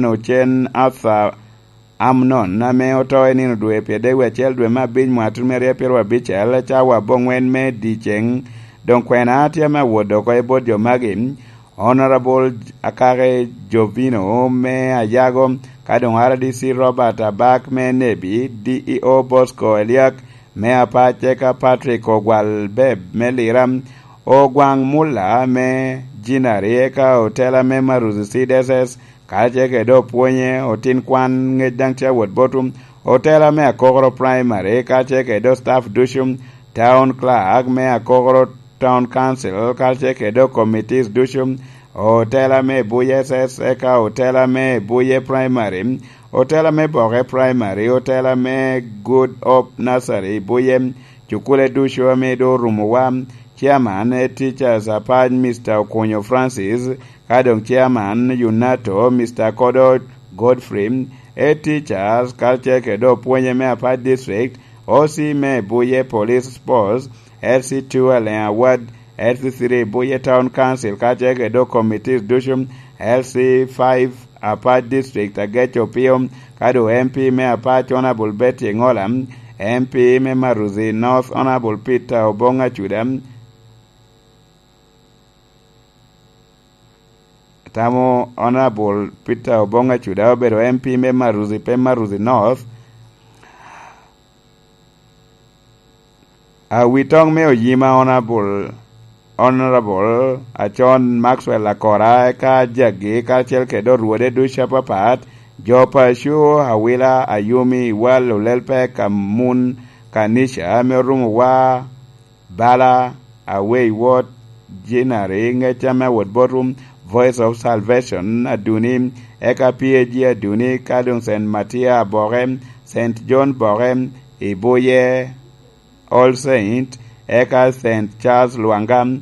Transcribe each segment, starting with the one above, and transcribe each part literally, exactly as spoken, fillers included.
Ocen Arthur Amnon, ame oto i nino dwe pyeradek wie acel dwe me abic mwaka tutumia aryo pyeraryo abicel, cawa aboŋwen me dyeceŋ. Doŋ kwena tye ame awot oko i bot jo magi: Honorable Akake Jovino me Ayago, ka doŋ R D C Robert Abak me Nebi, D E O Bosco Eliak me Apac, eka Patrick Ogwal Beb me Lira, Ogwaŋ Mulla me Jinari, eka otela me Maruzi C D S S, kacel kede opwonye, otin kwan ŋec daŋ tye awot botwu, otela me Akokoro Primary, kacel kede staff ducu, town clerk me Akokoro Town Council, kacel kede committees ducu, otela me Buye S S, eka otela me Buye Primary, otela me Boke Primary, otela me Good Hope Nursery Buye, cukule ducu ame doŋ orumowa, chairman e teachers apac, Mister Okonyo Francis, ka doŋ chairman Yunato, Mister Kodo Godfrey, e teachers, kacel kede opwonye me apac district, O C me Buye Police Post, L C two Aleŋ Awad, L C three Buye Town Council, kacel kede committees ducu, L C five Apac District, Ageco Opio, ka doŋ M P me Apac, Honorable Betty Engola, M P me Maruzi North, Honorable Peter Obong Acuda, tamo Honorable Peter Obong Acuda obedo M P me Maruzi, pe Maruzi North. Awitoŋ me Oyima, Honorable, Honorable Acon Maxwell Akora, eka jagi, kacel kede orwode ducu apapat, jo paco, Awila, Ayumi, Iwal, Olelpek, Amun, Kanisha, ame orumo wa, Bala, Awei Wot, Jinari, ŋec ame awot botwu, Voice of Salvation, Aduni, eka P A G Aduni, ka doŋ Saint Matia Aboke, Saint John Boke, Ibuye, All Saint, eka Saint Charles Lwanga,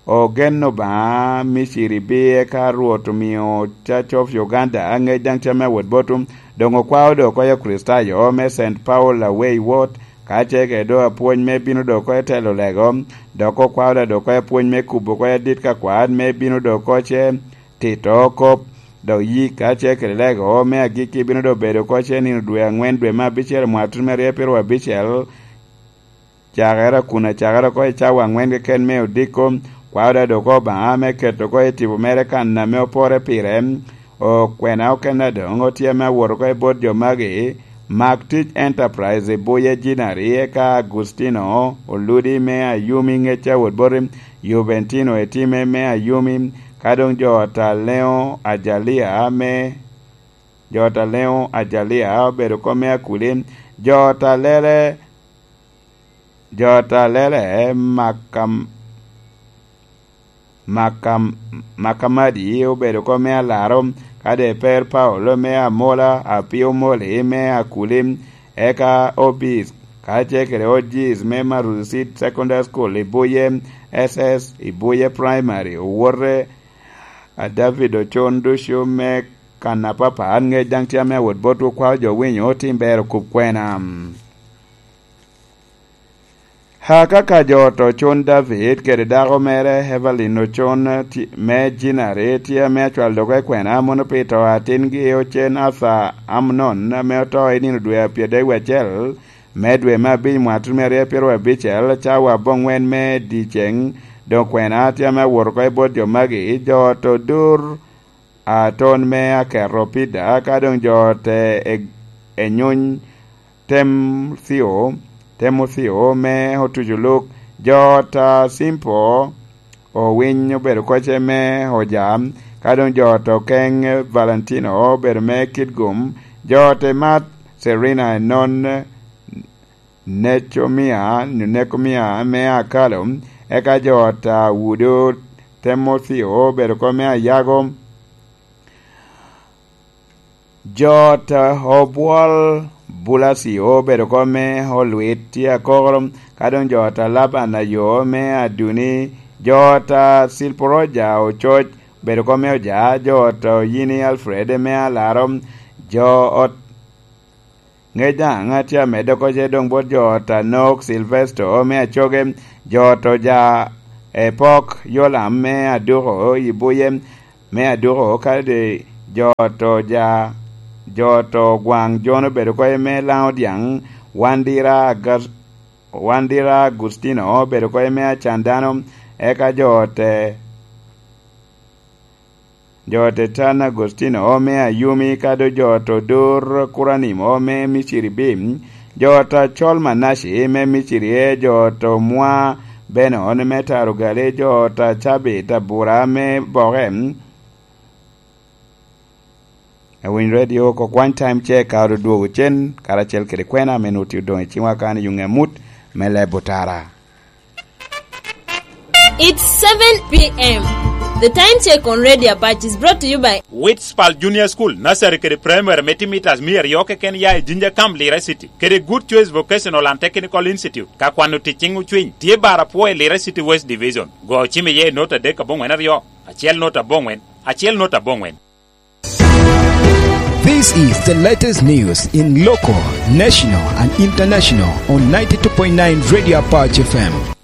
ogen Obaŋa, Miciri bi, eka Rwot omio Church of Uganda ŋec daŋ tye ame awot botwu. Doŋ okwao doŋ oko i Kricitayo me Saint Paul Awei Wot, ka ce kede doŋ apwony me bino doŋ oko i telo lego, dok okwao doŋ oko apwony me kubo oko adit ka kwat me bino doŋ oko ce tito kop, dok yik ka ce kede lego me agikki bino doŋ bedo oko ce nino dwe aŋwen dwe me abicel mwaka tutumia aryo pyeraryo abicel, cakere kun acakere oko i cawa aŋwen keken me odiko, kwao da doŋ oko Obaŋa me keto oko i tipo mere kan ame opore pire. Okwena okene doŋ otye ame awot oko i bot jo magi, Mak Tic Enterprise i Buye Jinari, eka Agustino Oludi me Ayumi ŋec awot boti, Juventino Etime me Ayumi, ka doŋ jo Otaleŋo Ajalia me, jo Otaleŋo Ajalia obedo oko me Akuli, jo Otalele, jo Otalele Makam-, Makam-, Makamadi obedo oko me Alaro, ka doŋ Eper Paulo me Amola, Apio Moli me Akuli, eka Obis, ka ce kede Ojis me Maruzi Seed Secondary School i Buye, S S i Buye Primary, owote a David Ocon ducu me kan apapat, ŋec daŋ tye ame awot botwu, kwao jo winyo, tim ber okub kwena. Akaka jo Ocon David kede dako mere Evelyn Ocon ti-, me Jinari tye ame acwalo doŋ oko i kwena, mono pi to atingi Ocen Arthur Amnon ame oto i nino dwe a pyeradek wie acel me dwe me abic mwaka tutumia aryo pyeraryo abicel, cawa aboŋwen me dyeceŋ. Doŋ kwena tye ame awot oko i bot jo magi, jo Odur Aton me Aketo Pida, ka doŋ jo te e-, Enyuny Temuthio, Temuthio me Otuco Luk, jo ta Simpo Owiny obedo koce me Oja, ka doŋ jo ta Okeŋ Valentino obedo me Kitgum, jo te Mat Serina Enon Necomia, Nekomia me Akalo, eka jo ta Wudo Temuthio obedo oko me Ayago, jo ta Obwol Bulasio obedo oko me Olwit tye Akokoro, ka doŋ jo ta Laban Ayo me Aduni, jo ta Silporoja Ococ obedo oko me Oja, jo ta Oyini Alfred me Alaro, jo ot Ŋec daŋ atye amedde oko ce doŋ bot jo ot Anok Silvesto me Acoge, jo ot Oja Epok Yolam me Aduko i Buye, me Aduko kadi jo oto ja, jo oto gwaŋ, Jon obedo oko i me Laŋo Dyaŋ, Wandira Agas-, Wandira Agustino obedo oko i me Acan Dano, eka jo ote, jo ote Tan Agustino me Ayumi, kadi jo oto Dur Kuranim me Miciri B, jo oto Acol Manaci me Miciri E, jo oto Mwa Benon me Tarugali, jo oto Cabit Abura me Boke, Awiny Radio oko kwany time check ka odwogo cen, karacel kede kwena ame nut odoŋ i ciŋwa kan i yuŋ amut me leb otara. It's seven p m. The time check on Radio Apac is brought to you by Witspal Junior School, Nursery kede Primary me timitas mia aryo keken ya i Jinja Camp, Lira City, kede Good Choice Vocational and Technical Institute, ka kwano tic ciŋ ocwiny, tye bar apwo i Lira City West Division. Go cim iye i nota adek aboŋwen aryo, acel nota aboŋwen, acel nota aboŋwen. This is the latest news in local, national, and international on ninety-two point nine Radio Apache F M.